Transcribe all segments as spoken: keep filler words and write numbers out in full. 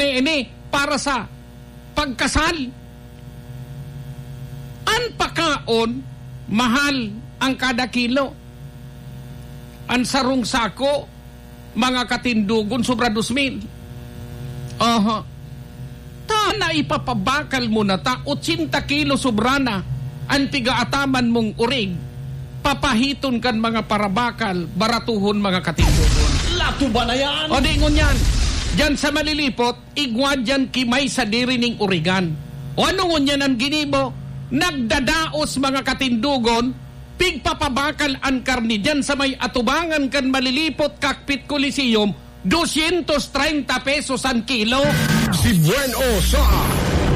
ini para sa pagkasal. An pakaon, mahal ang kada kilo. An sarong sako, mga katindogon, sobra dos mil. Aha. Ta na ipapabakal mo na ta, ochenta kilo sobra na an pigaataman mong urig. Papahiton kan mga parabakal, baratuhon, mga katindogon. Lato ba na yan? O di ngunyan, dyan sa Malilipot, igwa dyan ki may sadiri ning urigan. O ano ngunyan an ginibo? Nagdadaos, mga katindogon, pigpapabakal an karne diyan sa may atubangan kan Malilipot Cockpit Coliseum, dosyentos treinta pesos an kilo. Si Buen O sa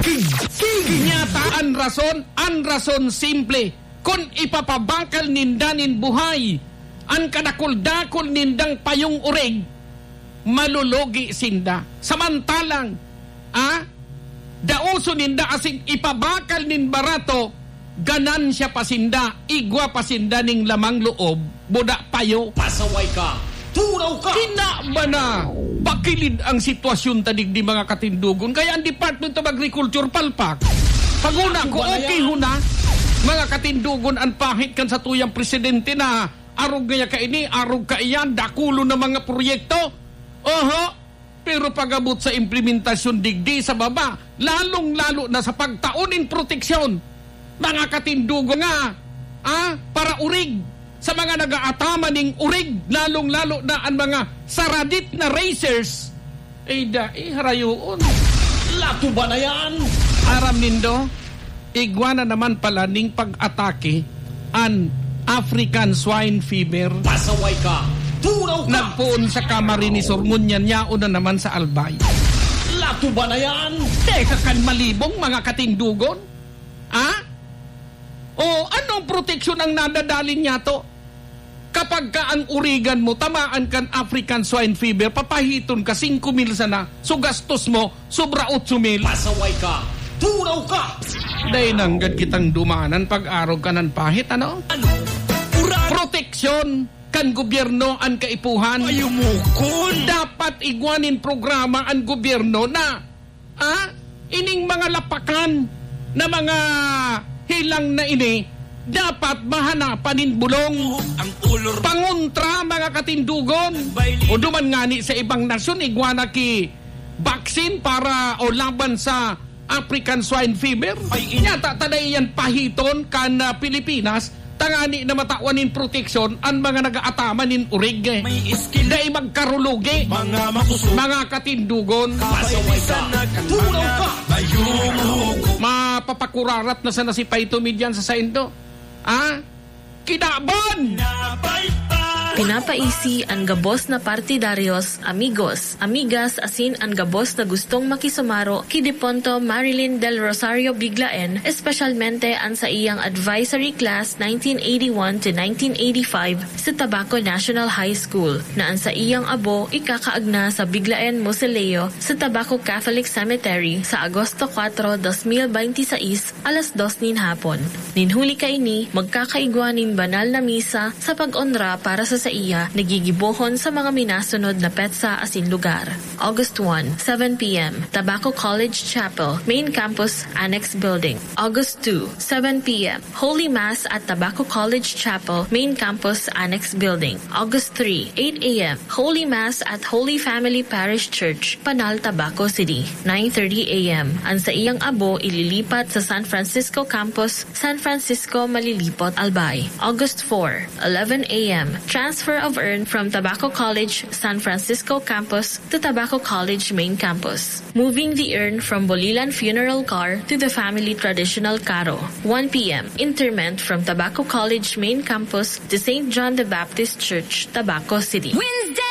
King King. Inyata an rason, an rason simple, kun ipapabakal ninda nin buhay an kadakul-dakul nindang payong urig, malulugi sinda. Samantalang, ah, daoson ninda asin ipabakal nin barato, ganansya pa sinda, igwa pa sinda ning lamang loob, buda payo. Pasaway ka, turaw ka. Kinaba na, pakilid ang sitwasyon ta digdi, mga katindogon. Kaya ang Department of Agriculture, palpak. Paguna ko, okay ho na, mga katindogon, an pahit kan satuyang presidente na arog ngaya kaini, arog kaiyan, dakulon na mga proyekto. Oho, pero pag-abot sa implementasyon digdi sa baba, lalong-lalo na sa pagtao nin proteksyon, mga katindogon nga, ah, para urig, sa mga nagaataman ning urig, lalong-lalo na an mga saradit na racers, ay dai harayoon. Lato ba na yan? Aram nindo, igwa na naman pala ning pag-atake an African Swine Fever. Pasaway ka! Turaw ka! Nagpoon sa Camarines Sur, ngunyan yaon na naman sa Albay. Lato ba na yan? Teka kan malibong, mga katindogon? Ha? O anong proteksyon ang nadadalin niya to? Kapag ka ang urigan mo tamaan kan African Swine Fever, papahiton ka singko mil sana, so gastos mo, sobra otso mil. Pasaway ka! Turaw ka! Dai nanggad kitang dumanan pag-arog kan pahit, ano? Ano? Ura- Proteksyon kan gobyerno an kaipuhan. Ay, umukon! Dapat igwa nin programa an gobyerno na, ah, ining mga lapakan na mga hilang na ini, dapat mahanapan nin bulong. Ang ulor. Pangontra, mga katindogon. Bailin. O duman ngani sa ibang nasyon, igwa na ki vaccine para o laban sa African Swine Fever. Ay, in- Nyata ta dai yan pahiton kan, ah, Pilipinas, tangani na matawan nin proteksyon an mga nagaataman nin urig, eh. May iskil. Dai magkarulugi. Mga makusog. Mga katindogon. Kapailisan na katulog ka. Mayumog. Mapapakurarat na sana si Paito Median sa saindo. Ah? Kinaban! Pinapaisi an gabos na partidaryos, amigos, amigas asin an gabos na gustong makisumaro ki Deponto Marilyn Del Rosario Biglaen, espesyalmente an saiyang advisory class nineteen eighty-one to nineteen eighty-five sa Tabaco National High School, na an saiyang abo ikakaagna sa Biglaen Mausoleo sa Tabaco Catholic Cemetery sa Agosto kuwatro, dos mil benti sais, alas dos nin hapon. Nin huli kaini, magkakaigwa nin banal na misa sa pag-onra para sa saiya na gigibohon sa mga minasunod na petsa asin lugar. August one, seven p m, Tabaco College Chapel, Main Campus, Annex Building. August two, seven p m, Holy Mass at Tabaco College Chapel, Main Campus, Annex Building. August three, eight a m, Holy Mass at Holy Family Parish Church, Panal, Tabaco City. Nine thirty a m, ang saiyang abo ililipat sa San Francisco Campus, San Francisco, Malilipot, Albay. August four, eleven a m, transfer of urn from Tabaco College, San Francisco Campus to Tabaco College Main Campus. Moving the urn from Bolilan Funeral Car to the family traditional carro. One p m, interment from Tabaco College Main Campus to Saint John the Baptist Church, Tabaco City. Wednesday!